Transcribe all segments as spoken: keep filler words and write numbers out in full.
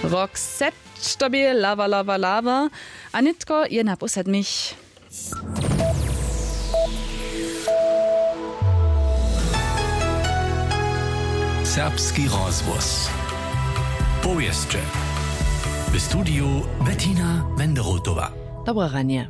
Rok set to bě lawa lawa lawa. A nětko je na pósadmich. Serbski rozhłos. Powěsće. W studiju Bettina Wenderotowa. Dobre ranje.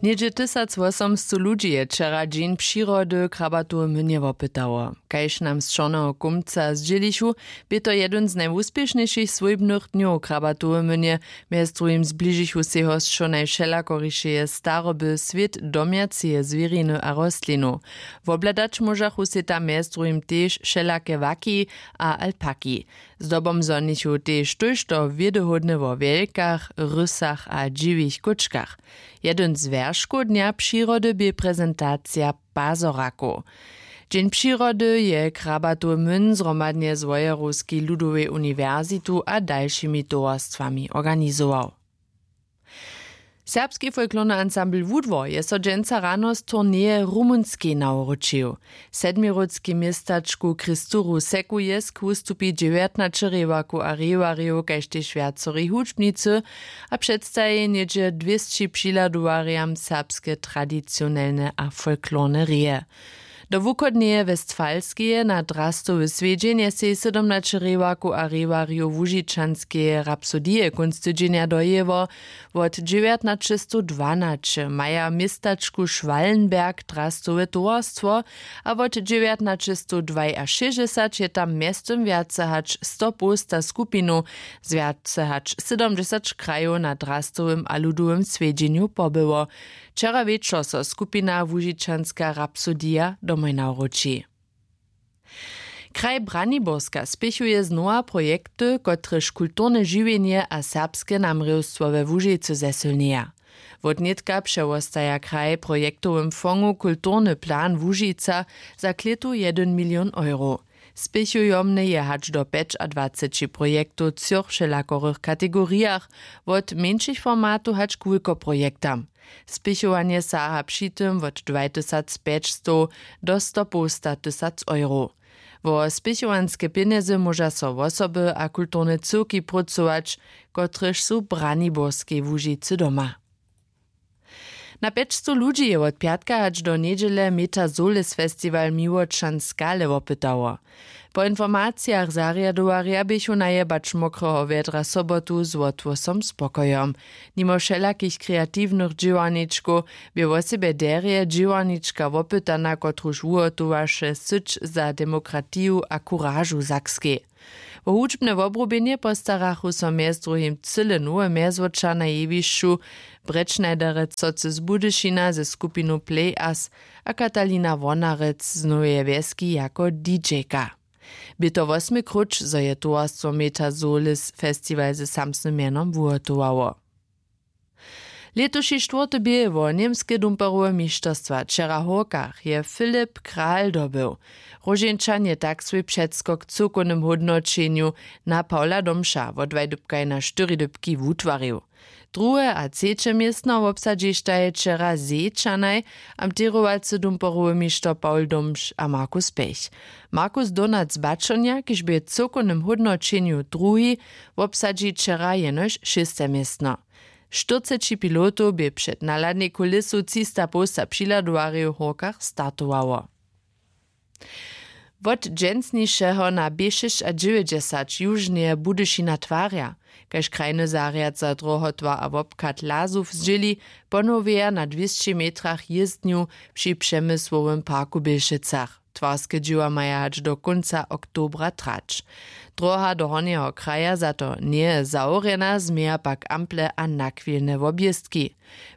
Něhdźe tysacwosomstow ludźi je wčera dźeń přirody w Krabatowej mynje wopytało. Kaž nam z Čorneho kómca zdźělichu, bě to jedyn z najwuspěšnjejšich swójbnych dnjow w Krabatowej mynje. Mjez druhim zbližichu sej hosćo najwšelakorišeje staroby, swět domjaceje zwěriny a rostlinow. Wobhladać móžachu sej tam mjez druhim tež wšelake waki a alpaki. Zdobom zhonichu tež tójšto wědohódne wo wjelkach, rysach a dźiwich kóčkach. Jedyn z wjerškow dnja přirody bě prezentacija pazorakow. Dźeń přirody je Krabatowy myn zhromadnje z Wojerowskej ludowej uniwersitu a dalšimi towarstwami organizował. Serbski folklorny ansambl Wudwor je so dźensa rano z turneje w Rumunskej nawróćił. W sedmirudskej městačku Kristuru Sekujesk wustupi dźewjatnaće rěwarkow a rěwarjow, kaž tež wjacorej hudźbnicy, a předstaji něhdźe dwěsći přihladowarjam serbske tradicionelne a folklorne reje. Do wuchodneje Westfalskeje na drastowy swjedźeń je sej sydomnaće rěwarkow a rěwarjow łužičanskeje rapsodije kónc tydźenja dojěło. Wot dźewjatnaćestowdwanaće maja w městačku Schwallenberg drastowe towarstwo a wot dźewjatnaćestowdwajašěsćdźesat je tam mjeztym wjace hač sto połsta skupinow z wjace hač sydomdźesat krajow na drastowym a ludowym swjedźenju pobyło. Wčera wječor so skupina Łužičanska rapsodija domoj nawróći. Kraj Braniborska spěchuje znowa projekty, kotrež kulturne žiwjenje a serbske namrěwstwo we Łužicy zesylnjeja. Wotnětka přewostaja kraj w projektowym fongu kulturny plan Łužica za klětu jedyn milion euro. Spěchujomne je hač do pjećadwaceći projektow w třoch wšelakorych kategorijach, wot mjeńšich formatow hač k wulkoprojektam. Spěchowanje saha při tym wot dwajtysacpjećstow do stopołstatysac euro. Wo spěchowanske pjenjezy móža so wosoby a kulturne cyłki prócować, kotrež su w Braniborskej Łužicy doma. Na pjećstow ludźi je wot pjatka hač do njedźele Metazolis Festival Miłočan Skale wopytało. Po informacijach zarjadowarja běchu najebać mokreho wjedra sobotu z wotwosom spokojom. Nimo wšelakich kreatiwnych dźěłarničkow bě wosebje derje dźěłarnička wopytana, kotruž wuhotowaše syć za demokratiju a kuražu w Sakskej. Wo hudźbne wobrubjenje postarachu so mjez druhim cyle nowe mjezwoča na jewišću, Brečnajderec Socy z Budyšina ze skupinu Play Us a Katalina Wonarec z Noweje Wjeski jako DJka. Bě to wosmy króć, zo je towarstwo Metazolis festiwal ze samsnym mjenom wuhotowało. Lětuši štwórty bě wo němske dumperowe mišterstwa wčera w Hórkach je Filip Kral dobył. Róžeńčan je tak swój předskok w cyłkownym hódnoćenju na Pawla Domša wot dwaj dypkaj na štyri dypki wutwarił. Druhe a třeće městno wobsadźištaj wčera Zejčanaj, amterowacy dumperowy mišter Pawl Domš a Markus Pech. Markus Donac z Baćonja, kiž bě w cyłkownym hódnoćenju druhi, wobsadźi wčera jenož šěste městno. Štyrceći pilotow bě před nahladnej kulisu třista połsta přihladowarjow w Hórkach startowało. Wot dźensnišeho na B šěsćadźewjećdźesat južneje Budyšina twarja, kaž krajny zarjad za drohotwar a wobchad Lazow zdźěli, ponowjeja na dwěsći metrach jězdnju při Přemysłowym parku w Bělšicach. Twarske dźěła maja hač do kónca oktobra trać. Droha do hornjeho kraja za to njeje zawrjena, změja pak ample a nachwilne wobjěztki.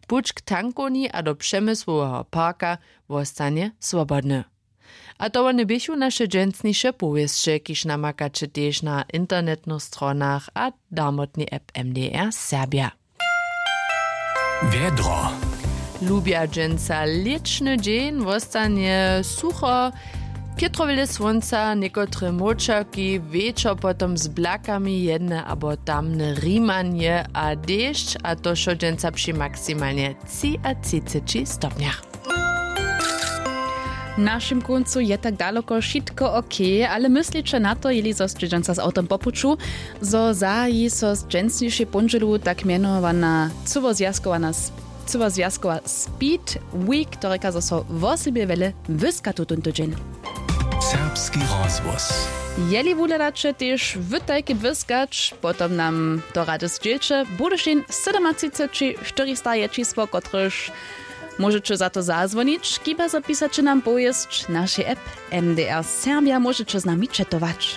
Puć k tankowni a do Přemysłoweho parka wostanje swobodny. A to wone běchu naše dźensniše powěsće, kiž namakaće tež na internetnych stronach a darmotnej app M D R Serbja. Wjedro. Lubja dźensa lěćny dźeń, wostanje sucho. Pětrowjele słónca, někotre młóčerki, wječor potom z blakami jedne abo tamne rimanje a dešć, a to wšo dźensa při maksimalnje třiatřiceći stopnjach. W našim kóncu je tak daloko wšitko ok, ale mysliće na to, jeli zo sće dźensa z awtom po puću, zo zahaji so z dźensnišej póndźelu tak mjenowana cyłozwjazkowana s- cyłozwjazkowa speed week, to rěka zo so wosebje wjele wyska tutón tydźeń. Serbski rozhłos. Jeli wuhladaće tež wy tajke błyskać, potom nam to rady zdźělće. Budyšin sydomatřiceći štyristahajtřisło, kotrež móžeće za to zazwonić, kiba zapisaće nam powěsć w našej app. M D R Serbja móžeće z nami četować.